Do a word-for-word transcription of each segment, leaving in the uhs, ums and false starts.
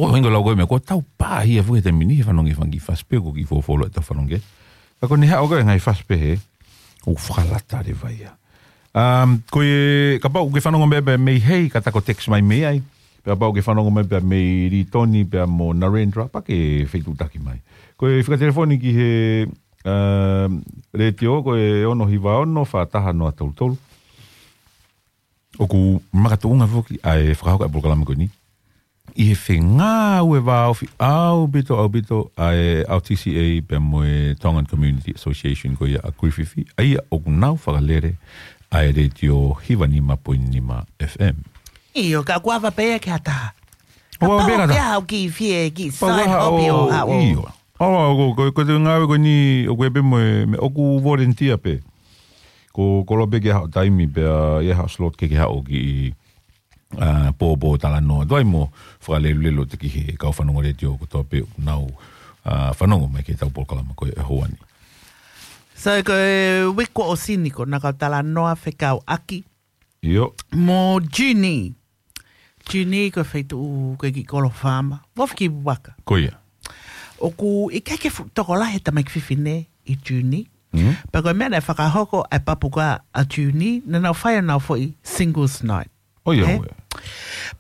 ʻOku ʻikai ko e lau ko e meʻa, ko e tau pā ia foki he taimi ni he fanongo he fanga kiʻi fasi pē, ko e kiʻi folofola ʻetau fanongo. Ka ko ʻene haʻu ko e ngaahi fasi pē hē, ʻoku fakalata leva ia. Um, ko e, kapau ʻoku ke fanongo mai pē mei hē, ka ta ko e text mai mei ai. Pea kapau ʻoku ke fanongo mai pē mei Litoni, pea mo Narendra, pea ke fetuʻutaki mai. Ko e fika telefoni ki he, um, letiō, ko e ono hiva ono, fā taha noa tolu tolu. ʻOku makatuʻunga foki ʻa e fakahoko ʻa e polokalama ko eni ʻi he fengāueʻaki ʻaupito, ʻaupito ʻa e R T C A pea mo e Tongan Community Association ko ia ʻa Griffith, ʻa ia ʻoku nau fakalele ʻa e letiō hiva nima poini nima F M. ʻIo, ka ʻoku ava pē ia ke hata. ʻOku ava pē ia ke hata. Kapau ke haʻu ki fie ki Pau side ka haʻu, hobby ʻo haʻu. ʻIo. ʻAua, ko, ko, ko e ngāue ko eni, ʻoku ʻi ai pē mo e, meʻa ʻoku volunteer pē. Ko, ko e koloa pē ke haʻu taimi pea ʻi ai haʻo slot ke ke haʻu ki, ʻa, pōpō talanoa. Tuai mo fakalelulelu atu ki he kau fanongo letiō kotoa pē ʻoku nau, ʻa, fanongo mai ki heʻetau polokalama ko e ʻaho ni. So ko e uike kuo ʻosi ni ko ʻena kau talanoa fekauʻaki ʻIo. mo Junie. Junie ko e feituʻu ko e kiʻi kolo faama. Mo fiki waka. Ko ia. ʻOku ʻikai ke fuʻu tokolahi e tamaiki fefine ʻi Junie. Mm. Pea ko e meʻa naʻe fakahoko ʻa e papu ko ia ʻa Junie, naʻa nau fai ʻenau foʻi singles night. ʻOiauē.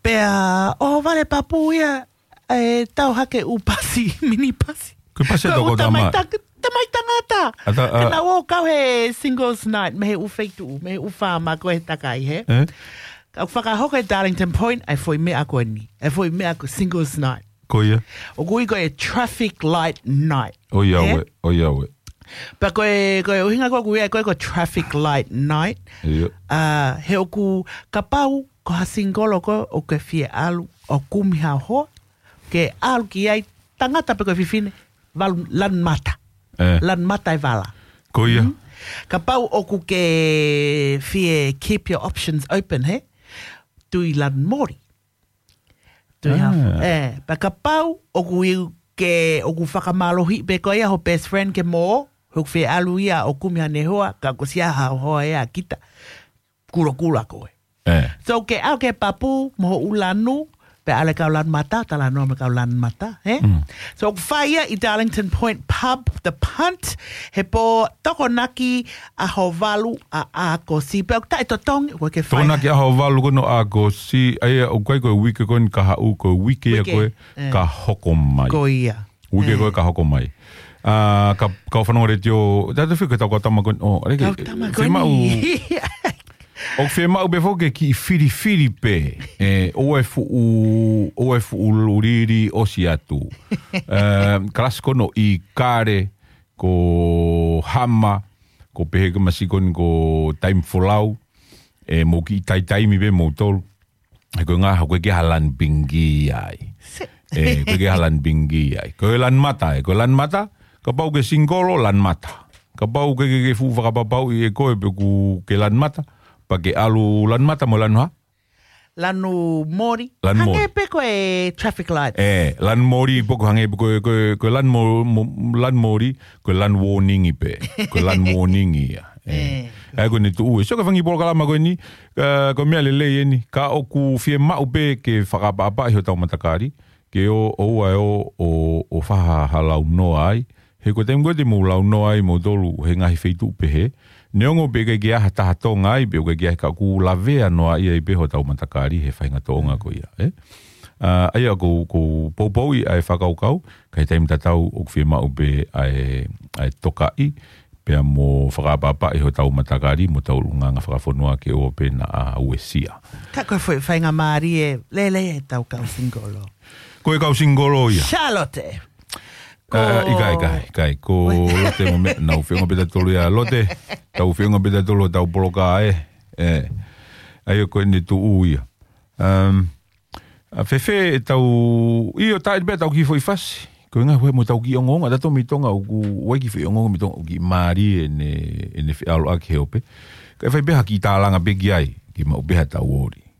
Pea, ʻohovale papu ia, ʻe tau hake ʻū pasi, mini pasi. Ko e pasi ʻa e toko tama. Ko e ʻū tamai tang-, tamai tangata. ʻA ta-, ʻa. Ka nau ō kau he singles night, mei he ʻū feituʻu, mei he ʻū faama ko e takai, hē? ʻE? Ka ʻoku fakahoko ʻe Darlington Point, ʻa e foʻi meʻa ko eni. ʻA e foʻi meʻa ko e singles night. Ko ia. ʻOku ui ko e traffic light night. ʻOiauē, ʻe? ʻOiauē. Pea ko e, ko e ʻuhinga ko ē ʻoku ui ai ko e ko e traffic light night. ʻIo. ʻA, he ʻoku kapau ko ha singolo ko ē ʻoku ke fie ʻalu ʻo kumi ha hoa, ke ʻalu ki ai tangata pe ko e fefine, valu lanu mata. ʻE. Lanu mata e vala. Ko ia. Mm. Kapau ʻoku ke fie keep your options open, hē? Tui lanu mori. Tui ha-, ʻA. ʻE, pea kapau ʻoku ʻiu ke ʻoku fakamālohiʻi pē ko ia ho best friend ke mo, ʻoku fie ʻalu ia ʻo kumi haʻane hoa, ka ko e sia ha hoa ia kita. Kulokula koe. ʻE. So ke ʻalu ki he papu, mo hoʻo lanu, pea ʻalu e kau lanu mata, talanoa mo e kau lanu mata, hē? Mm. So ʻoku fai ia ʻi Darlington Point Pub, The Punt, he pō Tokonaki ʻaho valu ʻa ʻAokosi. Pea ʻoku taʻetotongi, ʻoku ʻikai ke fai. Tokonaki ʻaho valu ko ē ʻo ʻAokosi, ʻa ia ʻoku ʻikai ko e uike ko eni ka haʻu, ko e uike ia Uike. ko ē ʻE. ka hoko mai. Ko ia. Uike ʻE. ko ē ka hoko mai. ʻA, ka, kau fanongo letiō, tautefito ki heʻetau kau tama ko eni, ʻo, ʻaliki, Kau tama ko eni. fiemaʻu, ʻoku fiemaʻu pē foki ke kiʻi filifili pē, ʻe, ʻoua ʻe fuʻu, ʻoua ʻe fuʻu lulili ʻosi atu. ʻE, kalasi ko eni ʻi Kale, ko Hama, ko pehē ko e masi ko eni ko Taimi Folau, ʻe, mou kiʻi taitaimi pē moutolu. He ko e ngaahi, ko e ʻikai ha lanu pingi ai. Se- ʻE, ko e ʻikai ha lanu pingi ai. Ko e lanu mata, ʻe, ko e lanu mata, kapau ʻoku ke singolo, lanu mata. Kapau ʻoku ke, ke, ke fuʻu fakapapauʻi ʻe koe pe ʻoku ke lanu mata, pea ke ʻalu lanu mata mo lanu hā? Lanu mori. Lanu mori. Hangē pē ko e traffic light. ʻE, lanu mori pē ʻoku hangē pē ko e, ko e, ko e lanu mo-, mo-, lanu mori, ko e lanu warning pē. Ko e lanu warning ia. ʻE. ʻE. ʻA ia ko ʻene tuʻu ē. So ko e fanga kiʻi polokalama ko eni, ʻa, ko e meʻa lelei eni. Ka ʻoku fiemaʻu pē ke fakaʻapaʻapaʻi hotau matakali, ke ʻo, ʻoua ʻe ō, ʻo, ʻo fai ha launoa ai. He ko e taimi ko ē te mou launoa ai moutolu he ngaahi feituʻu pehē. Neongo pē ʻikai ke ʻi ai ha taha Tonga ai, pe ʻoku ʻikai ke ʻi ai, ka ʻoku lavea noa ia ai pē hotau matakali he faʻahinga tōʻonga ko ia, ʻe? ʻA, ʻa ia ʻoku, ʻoku poupouʻi ʻa e fakakaukau, ka ʻi he taimi tatau ʻoku fiemaʻu pē ʻa e, ʻa e tokaʻi, pea mo fakaʻapaʻapaʻi hotau matakali, mo hotau ʻulungaanga fakafonua ke ʻoua pē naʻa uesia. Ka ko e foʻi faingamālie lelei ʻetau kau singolo. Ko e kau singolo ia. Charlotte. Ko ʻA, ʻikai, ʻikai, ʻikai. Ko Lote mo meʻa, nau feʻunga pē tautolu ia. Lote, tau feʻunga pē tautolu hotau polokalama ē. ʻE. ʻA ia ko ʻene tuʻu ia. Um, ʻa, fēfē ʻetau, ʻio, tā ʻi ai pē ʻetau kiʻi foʻi fasi. Ko e ngaahi, ʻoku ʻi ai mo ʻetau kiʻi ongoongo, ʻa tautolu mei Tonga, ʻoku ʻi ai e kiʻi foʻi ongoongo mei Tonga, ʻoku kiʻi mālie ʻene, ʻene feʻaluʻaki he ope. Kae fai pē ha kiʻi tālanga pē ki ai, ke maʻu pē haʻatau ʻoli.